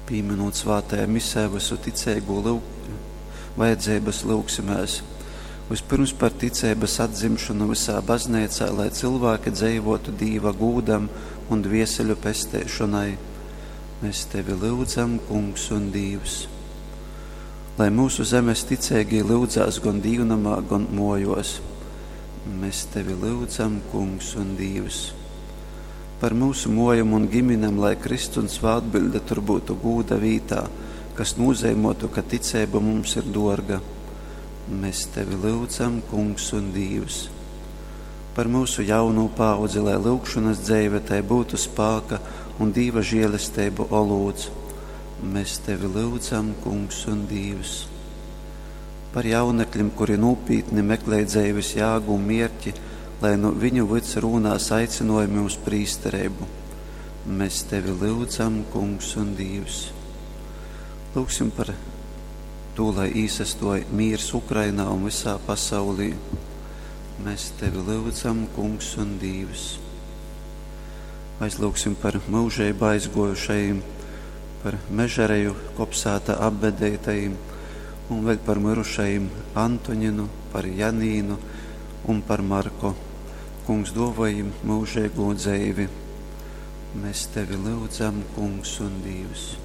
Pīminūt svātajā misē vysu ticeigū lyug, vajadzeibas lyugsimēs. Vispirms par ticeibas atdzimšonu vysā bazneicā, lai cilvēki dzeivotu Dīva gūdam un dvieseļu pesteišonai. Mēs tevi lyudzam, Kungs un Dīvs. Lai mūsu zemes ticeigī lyudzās gan dīvnamā, gan mojos. Mēs tevi lyudzam, Kungs un Dīvs. Par mūsu mojam un giminem, lai Kristus un svātbilde tur būtu gūda vītā, kas nozīmotu, ka ticība mums ir dorga. Mēs tevi lyudzam, Kungs un Dīvs. Par mūsu jaunu paudzi, lai lūgšanas dzeive tai būtu spāka un Dīva žēlestību olūts. Mēs tevi lyudzam, Kungs un Dīvs. Par jaunekļiem, kuri nopietni meklē dzeives jāgu un mierķi, lai nu viņu vyds rūnās aicinojumi uz prīsterību. Mēs tevi lyudzam, Kungs un Dīvs. Lūgsim par to, lai īsastoja mīrs Ukrainā un visā pasaulī. Mēs tevi lyudzam, Kungs un Dīvs. Aizlūgsim par mūžību aizgojušajiem, par mežareju kopsēta apbedētajiem un vēl par mirušajiem Antoņinu, par Janīnu un par Marko. Kungs dāvājam mūžīgo dzīvi. Mēs tevi lūdzam, Kungs un Dievs.